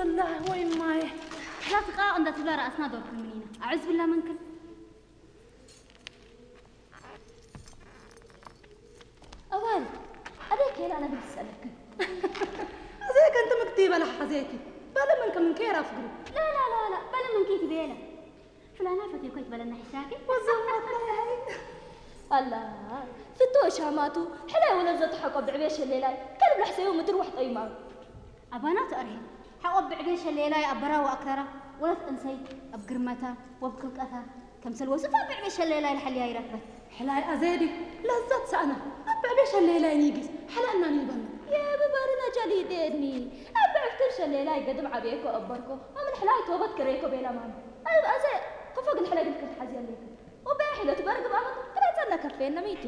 ኣላ ወይ ማየ። ላትቃ እንዳትብላ ራእስና ዶርኩ ምኒና ኣዕዝ ብላ መንክል ኣዋል ኣደ ኬላ ነግድ ሰለክን ኣዘይ ከንቲ ምክቲ በላ ሓዘይኪ በለ ምን ከምን ከራ ፍግሪ ላ ላ ላ ላ በለ ምን ኬት ቤላ ፍላና ፈቴ ኮይት በለና ሕሻኪ ወዘማት ኣላ ፍቶ ሻማቱ ሕላይ ወለ ዘተሐቆ ብዕቤ ሸሌላይ ከልብ ለሕሰዩ ምድር ወሕጠ ይማሩ ኣባናቱ ኣርሄ ሓቆ ብዕቤ ሸሌላይ ኣበራ ወኣክራራ ወለት እንሰይ ኣብ ግርመታ ወብክልቀታ ከምሰል ወስፋ ብዕቤ ሸሌላይ ለሐልያ ይረክበት ሕላይ ኣዘዲ ለዘት ሰእና ኣብ ብዕቤ ሸሌላይ ኒጊስ ሓላእና ኒበና የብበርነ ጀሊዴኒ ኣብ ብዕፍትን ሸሌላይ ገድም ዓብየኮ ኣበርኮ ኣምን ሕላይ ቶበት ክሬኮ ቤላ ማሚ ኣብ ኣዘ ክፎ ግን ሕላይ ግን ክትሓዚ ኣለይክን ወበያ ሒለት በርግብ ኣመት ክላጸና ከፌና ሚቲ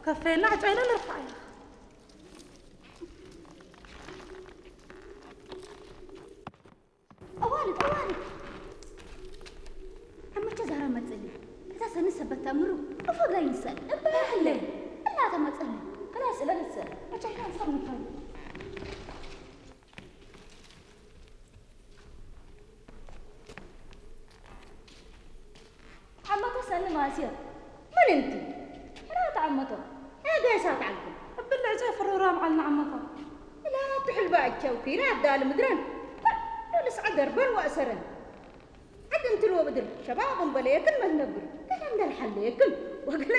ከፌና ዕጫይና ንርፋዕ ኢና ኣዋልድ ኣዋልድ ኣመቸ ዛራ መጽሊ እዛ ሰኒ ሰበት ተምሩ እፎ ጋይ ንሰል እበያህለ እናተ መጸሊ ክላስ እለ ንሰል ዕጫይና ንሰል ንፋይ ዓመቶ ሰኒ ማስዮ ምን እንቲ ሕራተ ዓመቶ ሄገ ሳት ዓልኩም እብል ዕጫይ ፍሩራም ዓልና ዓመታ لا تحل باجو كيرا دال مدرن كل سعدر بن وأسرن عدن تلو بدر شباب بليكن ما نبر كلام دل حليكن وقلن